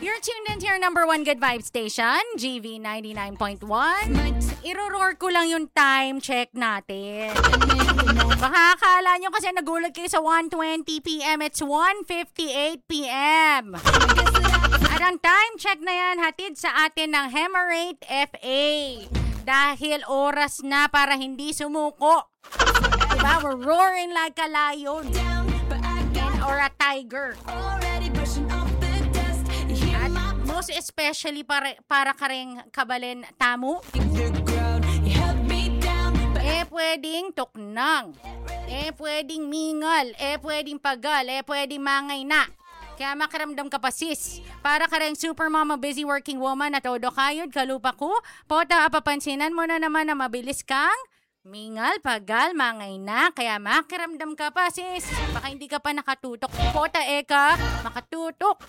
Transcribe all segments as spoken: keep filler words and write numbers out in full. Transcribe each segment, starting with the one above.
You're tuned into your number one good vibe station, G V ninety-nine point one. Iro-roar ko lang yung time check natin. Baka akala nyo kasi nagulat kayo sa one twenty p m. It's one fifty-eight p m. At ang time check na yan, hatid sa atin ng Hemarate F A. Dahil oras na para hindi sumuko. Diba? We're roaring like a lion. Or a tiger. At most especially para, para kareng kabalen tamu. E pwedeng tuknang. E pwedeng mingal. E pwedeng pagal. E pwedeng mangayna. Kaya makiramdam ka pa, sis. Para kareng super mama, busy working woman at todo kayod kalupa ku, pota apapansinan mo na naman na mabilis kang mingal, pagal, mangayna. Kaya makiramdam ka pa, sis. Baka hindi ka pa nakatutok. Pota e ka makatutok.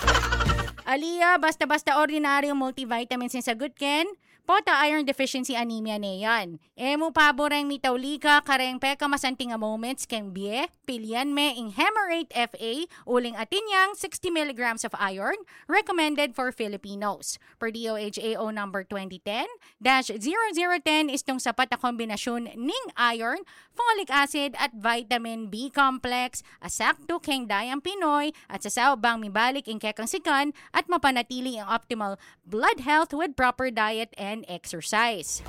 Alia, basta-basta ordinaryong multivitamins ing sasagutan ken, pota iron deficiency anemia ne yan. E mu pabureng mitauli ka kareng pekamasanting a moments keng bie, pilian me ing Hemarate F A, uling atin yang sixty milligrams of iron, recommended for Filipinos. Per D O H A O number twenty ten dash zero zero ten, istung sapat a kombinasyun ning iron, folic acid at vitamin B complex, a saktu keng dayang Pinoy, at sasaup bang mibalik ing kekang sikan at mapanatili ing optimal blood health with proper diet and exercise.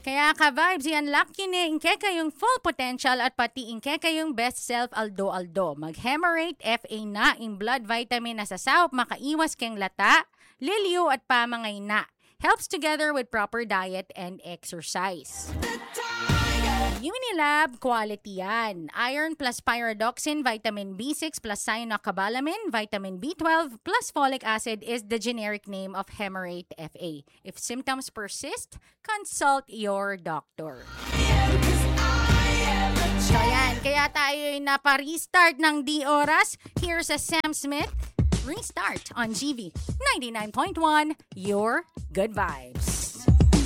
Kaya ka-vibes, i-unlock yu ne ing kekayung full potential at pati ing kekayung best self aldo-aldo. Mag-Hemarate F A na, ing blood vitamin a sasaup makaiwas keng lata, liliu at pamangayna. Helps together with proper diet and exercise. Unilab quality yan. Iron plus pyridoxine, vitamin B six plus cyanocobalamin, vitamin B twelve plus folic acid is the generic name of Hemarate F A. If symptoms persist, consult your doctor. So yan, kaya tayo'y napa-restart ng di oras. Here's a Sam Smith Restart on G V ninety-nine point one, your good vibes.